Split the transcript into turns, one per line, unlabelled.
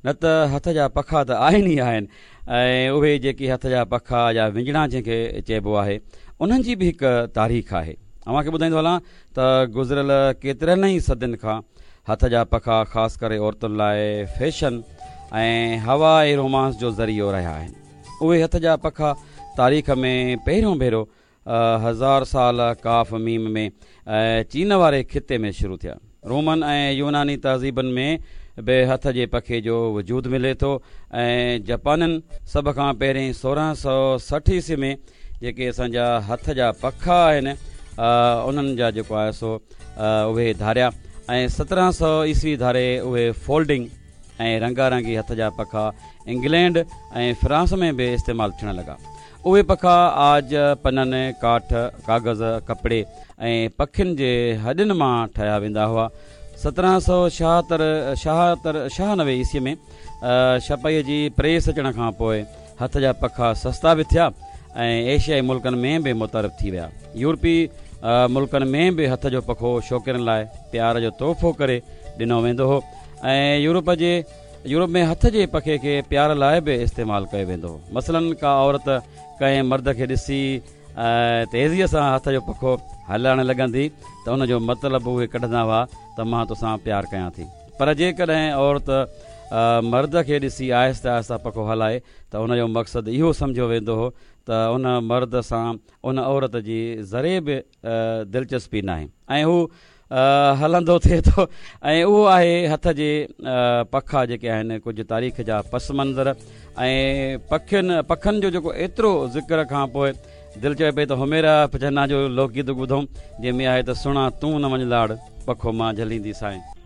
نه ته هٿ جا پکا ته آهن ئي آهن ۽ اهي جيڪي هٿ جا پکا يا وڃڻا جنهن کي چئبو آهي انهن جي به هڪ تاريخ آهي. اوهان کي ٻڌائيندو هلان ته گذريل ڪيترن ئي صدين کان هٿ جا پکا خاص ڪري عورتن لاء فيشن ۽ هوا ۽ رومانس جو ذريعو رهيا آهن. اهي هٿ جا پکا تاريخ ۾ پهريون ڀيرو هزار سال ڪاف ميم ۾ چين واري خطي ۾ شروع ٿيا. رومن ۽ يوناني تهذيبن ۾ به هٿ جي پکي جو وجود ملي ٿو ۽ جپانين سڀ کان پهرين 1660 عيسوي ۾ جيڪي اسان جا هٿ جا پکا آهن انهن جا جيڪو آهي سو اهي ڌاريا ۽ 1700 عيسوي ڌاري اهي فولڊنگ ۽ رنگا رنگي هٿ جا پکا انگلينڊ ۽ فرانس ۾ به استعمال ٿيڻ لڳا. اهي پکا عاج، پنن، ڪاٺ، ڪاغذ، ڪپڙي ۽ پکين جي هڏين مان ٺاهيا ويندا هئا. 1776 شاهتر 96 عيسوي ۾ ڇپائيء جي پريس اچڻ کان پوء هٿ جا پکا سستا به ٿيا ۽ ايشيائي ملڪن ۾ به متعارف ٿي ويا. يورپي ملڪن ۾ به هٿ جو پکو شوقينن لاء پيار جو تحفو ڪري ڏنو ويندو هو ۽ يورپ جي يورپ ۾ هٿ جي پکي کي پيار لاء به استعمال ڪيو ويندو هو. مثلاً ڪا عورت ڪنهن مرد کي ڏسي تيزيء سان هٿ جو پکو هلائڻ لڳندي ته ان جو مطلب اهي ڪڍندا هئا ته مان توسان پيار ڪيان ٿي. پر جيڪڏهن عورت مرد کي ڏسي آهستي آهستي پکو هلائي ته ان جو مقصد اهو سمجهيو ويندو هو ته ان مرد سان ان عورت جي ذري به دلچسپي ناهي ۽ هو هلندو ٿئي ٿو ۽ اهو آهي هٿ جي پکا جيڪي آهن ڪجهه تاريخ جا پس منظر ۽ پکين پکن جو جيڪو ايترو ذڪر کان پوء دل چوي پئي ته حميرا چنا جو لوڪ گيت ٻڌون جنهن ۾ آهي ته سهڻا تون نه وڃ لاڙ پکو مان جهلينديسانء.